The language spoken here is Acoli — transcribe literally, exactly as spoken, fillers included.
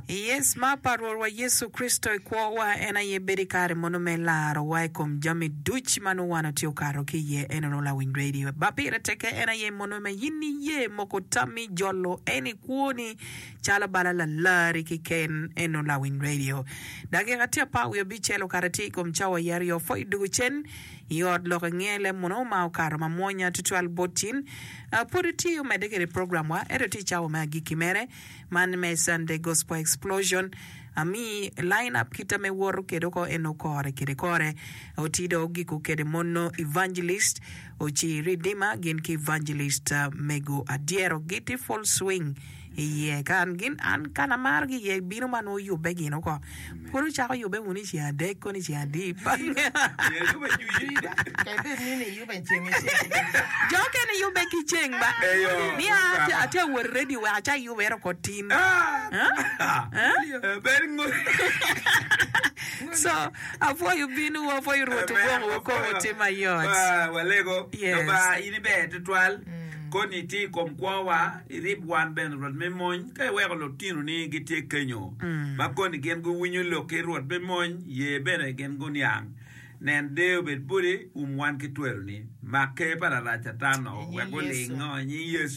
Yes, ma pa Rwotwa Yecu Kricito i kwowa en aye bedo i kare mono me larowa i kom jami duc ma nongo wan watye okato ki iye. En onongo lawiny radio. Ba pire tekke en aye mono me in iye moko tammi jolo en i kwoni calo bala lalari keken. En onongo lawiny radio. Dakika tye apar wiye abicel okato tye i kom cawa i aryo pwoyo dugo cen i ot lok ingele mono ma okato mamwonya tutwal bot cin. Uh, pwod tye omedde kede program wa ento tye i cawa me agikki mere man me Sunday Gospel Explosion ami line up kita me woto kede oko en okore kede kore otido ogiko kede mono evangelist oci Redeemer gin ki evangelist uh, mego adyero giti full swing iye kan gin an kan amaro gi iye bino ma nongo yubbe gin oko pud ocako yubbe wunu i ceng adek koni i ceng adi Kadi bed ni iyube ceng iceng. Jo okene yubbe ki ceng ba Eyo. ni a atye awot radio wek aca yubbe ero ko tin Ah! Huh? Bed ngo- so apwoyo bino apwoyo Rwot ogwoko kom otim mayot Ah, walego Yes. Lubanga in iber tutwal koni itye i kom kwowa irib wan bene Rwot me mony ka iweko lutinoni gitye kenyo ma koni gin guwinyo lok ki Rwot me mony ye bene gin guniang nen deyo bed boti um wan ki tweroni mak ker pa larac Catan-o I nying wek Yecu. gulingo i nying Yecu.